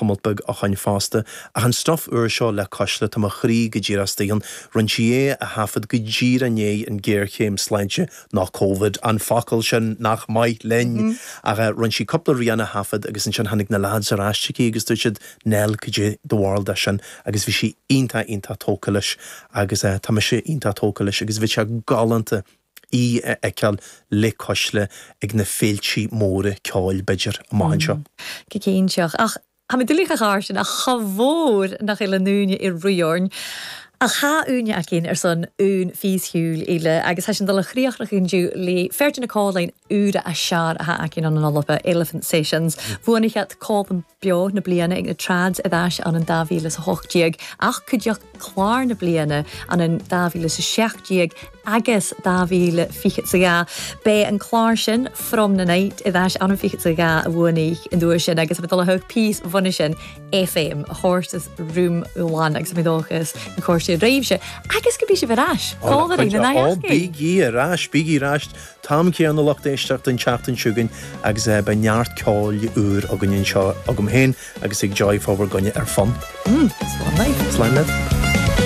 tamalt beag ó shoin fosta. Ach an stuif úr seo le Cuisle, tá mo chroí go díreach istigh ann. Rinne sí é a thaifead go díreach i ndiaidh an géarchéim sláinte, nó Covid, an focal sin nach maith linn! Ach rinne sí cúpla rian a thaifead agus ansin tháinig na lads ar ais chuici agus dúirt siad, Nell, cad é do bharúil de sin? Agus bhí sí iontach, iontach tógtha leis agus tá mise iontach tógtha leis agus bheadh sé galánta í a fheiceáil le Cuisle ag na féiltí móra ceoil, b'fhéidir, amach anseo. Go cinnteach. Ach tha mi doiligh a dh'àirsinn ach cha mhór nach eil an aoine ag rith orainn. Ach tha aoine againn ar son ùn phíosa cheoil eile agus tha sinn dol a chríochnachadh indiu le fear de na còmhlann úra as sear a tha againn ann an Alba, Elephant Sessions. Bhuanaich iad Còmhlan Beo na bliana ag na Trads i dTais ann in 2018 ach cuideachd Clár na bliana ann in 2017 agus 2022. B'é an clár sin, From the Night, i dTais ann in 22 a bhuanaigh an duais sin agus tá dul a thug píos bhunaidh sin FM, Horses Room One agus mé dóchas na cúrsaí roimhse agus go mbí sibh ar ais. Cá bhfuil na Ó, bígí ar ais, bígí ar ais. T-am céanna lucht éisteachta an tseachtain seo chugainn agus beidh neart ceoil úr againn anseo agam féin agus ag Joy fá bhur gcoinne ar Fonn. Slán libh. Slán libh.